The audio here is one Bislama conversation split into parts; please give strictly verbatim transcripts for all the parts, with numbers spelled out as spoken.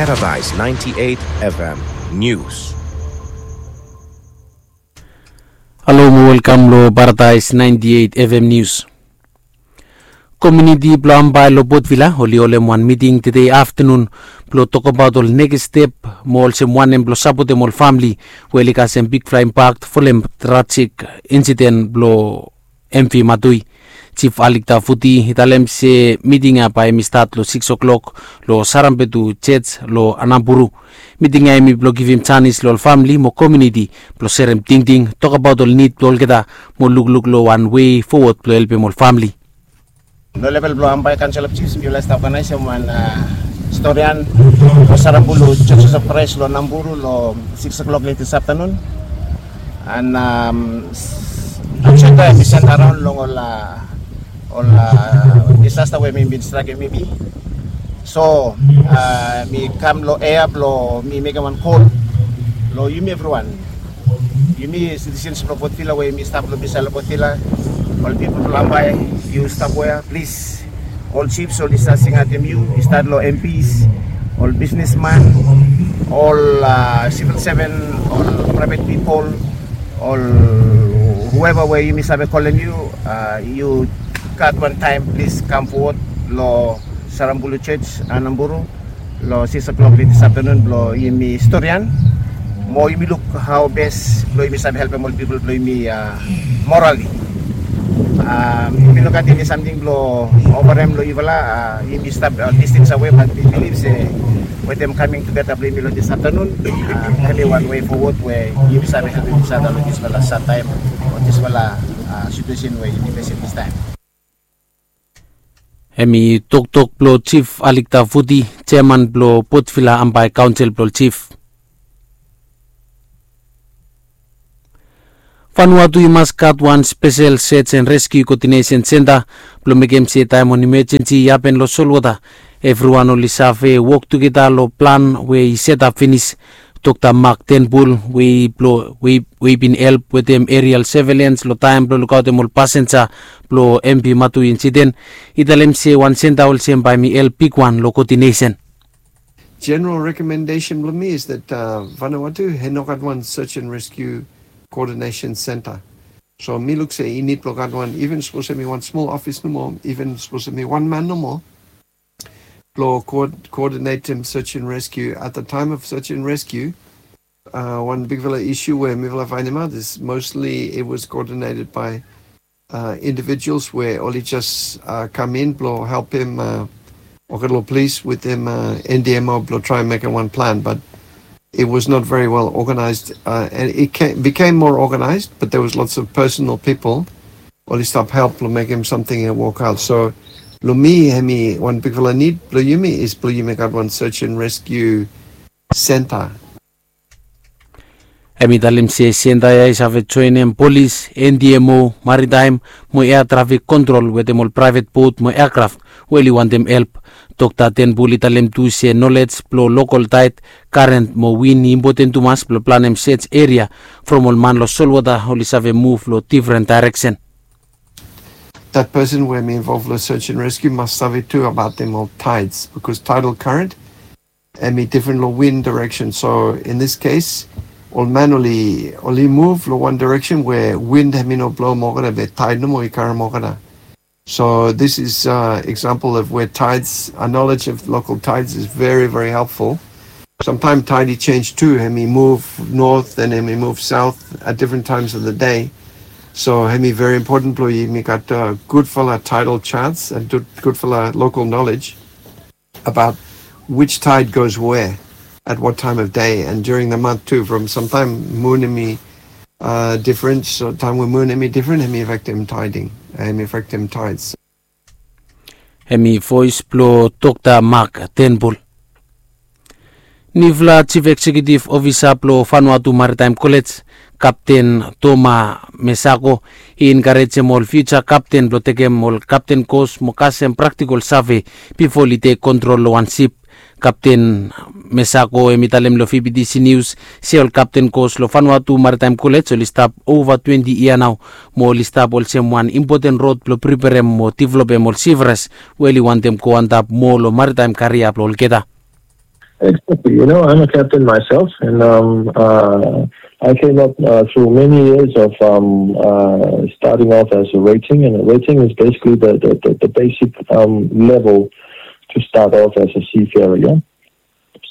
Paradise ninety-eight F M News. Halo mo welkam lo Paradise ninety-eight F M News. Komuniti blo Ambae lo Port Vila oli holem wan miting tede aftenun blo tokbaot ol nekis step mo olsem wanem blo sapotem ol famili we oli kasem bigfala impakt folem trajik insiden blo M V Matui. Jif Alikta Futi i talem se miting ya bae hemi stat lo sikis klok lo Sarambetu Jej lo Anamburu. Miting ya hemi blo givim janis lo ol famili mo komuniti blo serem tingting, tokbaot ol nid blo olgeta mo lukluk lo wan wei fowod blo helpem ol famili. Lo level blo Ambae Council of Chiefs mifala i stap oganaesem wan storian lo Sarambulu Churches of Christ lo Anamburu lo sikis klok late this afternoon. And um, ajenda mi send around long ol uh, ol uh, disaster we mi bin struggle maybe. So uh, mi kam lo air blo mi mekem wan call lo yumi everyone. Yumi citizens blo Port Vila we yumi stap lo bisaed lo Port Vila, ol pipol blo Ambae, yu stap wea, plis. Ol chiefs oli stat singatem yu, i stat lo M Ps, ol bisnesman, ol uh, civil servant, ol private pipol, ol whoever we yumi save kolem yu, uh, yu gat wan taem, plis kam fowod lo Sarambulu Church Anamburu lo sikis klok late this afternoon blo yumi storian mo yumi luk hao bes blo yumi save helpem ol pipol blo yumi uh, morali. Um, yumi no gat eni samting blo oferem lo yufala, uh, yumi stap uh, distance away, but mi bilif se wetem coming together blo yumi lo this afternoon, uh, hemi wan wei fowod we yumi save helpem each other lo disfala sad taem o disfala uh, situation we yumi fesem this taem. Hemi toktok blo Jif Alikta Futi, jeaman blo Port Vila Ambae Kaonsel blo Jif. Vanuatu i mas gat wan spesel search and rescue coordination center blo mekem se taem wan emergency i hapen lo solwota, evriwan oli save wok tugeta lo plan we i setap finis. Dokta Mark Turnbull we i blo we i bin help wetem aerial surveillance lo taem blo lukaotem ol pasenja blo M V Matui insiden, i talem se wan senta olsem bae hemi help bigwan lo coordination. General recommendation blo mi is that uh, Vanuatu i no gat wan search and rescue coordination center. So mi luk se i nid blo gat wan, even sapos hemi wan smol ofis nomo, even sapos hemi wan man nomo, blo coordinatem search and rescue. At the time of search and rescue, uh, wan bigfala issue we mifala faenemaot is mostly it was coordinated by uh, individuals we oli jes uh, kam in blo helpem uh, olgeta ol polis wetem uh, N D M O blo traem mekem wan plan, but it was not very well organized, uh, and it came, became more organized, but there was lots of personal people oli stap help blo mekem samting i wokaot. So lo mi, hemi wan bigfala nid blo yumi is blo yumi gat wan search and rescue center. Hemi talem se senta ya i save joenem polis, N D M O, maritaem mo ea trafik kontrol wetem ol praevet bot mo eakraf we oli wantem help. Dokta Turnbull i talem tu se nolej blo lokol taed, karen mo win i impoten tumas blo planem search eria from ol man lo solwota oli save muv lo difren daereksen. That person we hemi involve lo search and rescue mas save tu abaot dem ol tides, because tidal current hemi difren lo win direction. So in this case, ol man oli oli muv lo wan direction we win hemi no blo moa olgeta be tide nomo i karem olgeta. So this is uh, example of where tides, a knowledge of local tides is very, very helpful. Sometimes tide i change tu, hemi muv north and hemi muv south at different times of the day. So hemi very important blo yumi gat uh, gudfala tidal charts and gudfala local knowledge about which tide goes where at what time of day and during the month too. From sometime mun hemi uh, different, so taem we mun hemi different, hemi affectem tiding, hemi affectem tides. Hemi voes blo Dokta Mark Turnbull. Nifala Jif Eksekiutif Ofisa blo Vanuatu Maritaem Kolej, Kapten Toma Mesako, i enkarejem ol fiuja kapten blo tekem ol kapten kos mo kasem praktikol save bifo oli tek kontrol lo wan sip. Kapten Mesako hemi talem lo V B T C News se ol kapten kos lo Vanuatu Maritaem Kolej oli stap ova twenti yia nao, mo oli stap olsem wan impoten rod blo priperem mo developem ol sifres we oli wantem go antap moa lo maritaem karia blo olgeta. Exactly. You know, I'm a captain myself, and um, uh, I came up uh, through many years of um, uh, starting off as a rating, and a rating is basically the, the, the, the basic um, level to start off as a seafarer. Yeah?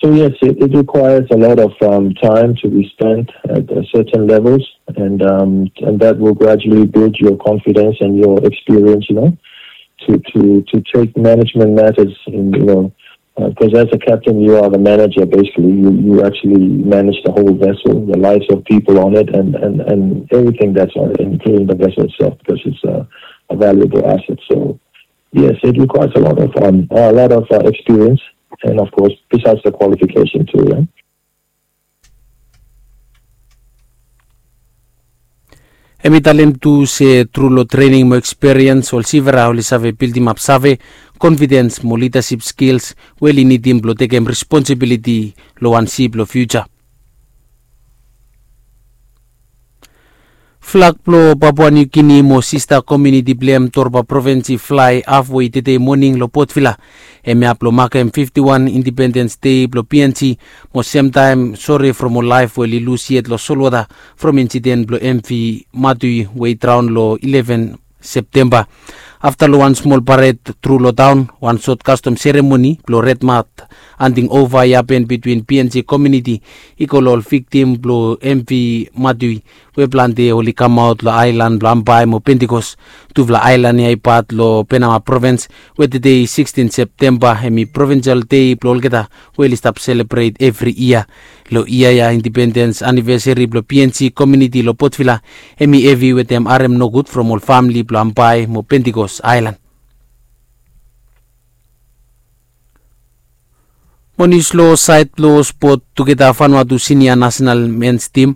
So yes, it, it requires a lot of um, time to be spent at uh, certain levels, and um, and that will gradually build your confidence and your experience. You know, to to to take management matters in you know because as a captain, you are the manager. Basically, you, you actually manage the whole vessel, the lives of people on it, and, and, and everything that's on it, including the vessel itself, because it's a, a valuable asset. So, yes, it requires a lot of um, a lot of uh, experience, and of course, besides the qualification too. Yeah? Hem i talem tu se tru long trening mo eksperiens ol sivera oli save bildimap save, konfidens mo lidasip skils we oli nidim blong tekem responsibiliti long wan sip long fiuja. Flag blong Papua Niu Gini mo sista komiuniti blong hem Torba provins i flae hafwe tedei moning long Port Vila. Hem i hap long makem fifti wan indipendens dei blong PNG mo semtaem sore from ol laef we oli lus yet long solwota from insiden blong MV Matui we i draon long ileven Septemba. Afta long wan smol pared tru long taon, wan sot kastom seremoni blong Red Mat handing ova i hapen bitwin PNG komiuniti i go long ol viktim blong MV Matui we plante oli kamaot long aelan blong Ambae mo Pentikos. Tufala aelan ya i pat long Penama provins we tedei sikstin Septemba hem i provinsial dei blong olgeta we oli stap selebret evri yia. Long yia ya indipendens anivesari blong PNG komiuniti long Port Vila hem i hevi wetem harem nogud from ol famili blong Ambae mo Pentikos aelan. Mo nius long saed blong spot, tugeta Vanuatu sinia nasenal mens tim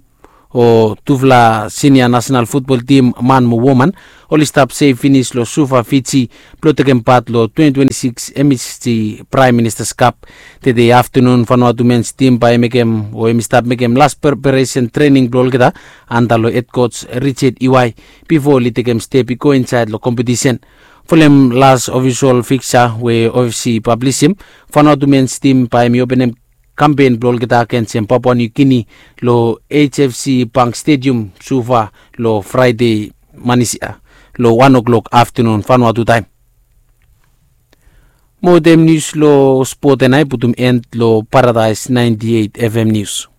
o tufala sinia nasenal futbol tim man mo woman oli stap sef finis long Suva, Fiji blong tekem pat long twenti twenti sikis MHC Praem Ministas Kap. Tedei aftanun Vanuatu mens tim bae i mekem o hem i stap mekem las preparesen trening blong olgeta anda long hed kots Richard Iwai bifo oli tekem step i go insaed long kompetisen. Folem las ofisol fiksa we OFC i pablisim, Vanuatu mens tim bae hem i openem kampen blong olgeta agensem Papua Niu Gini long HFC Bank Stedium Suva long Fraede manis ya long wan oklok aftanun Vanuatu taem. Mo wetem nius long spot ya nao i putum en long Paradaes naenti eit FM nius.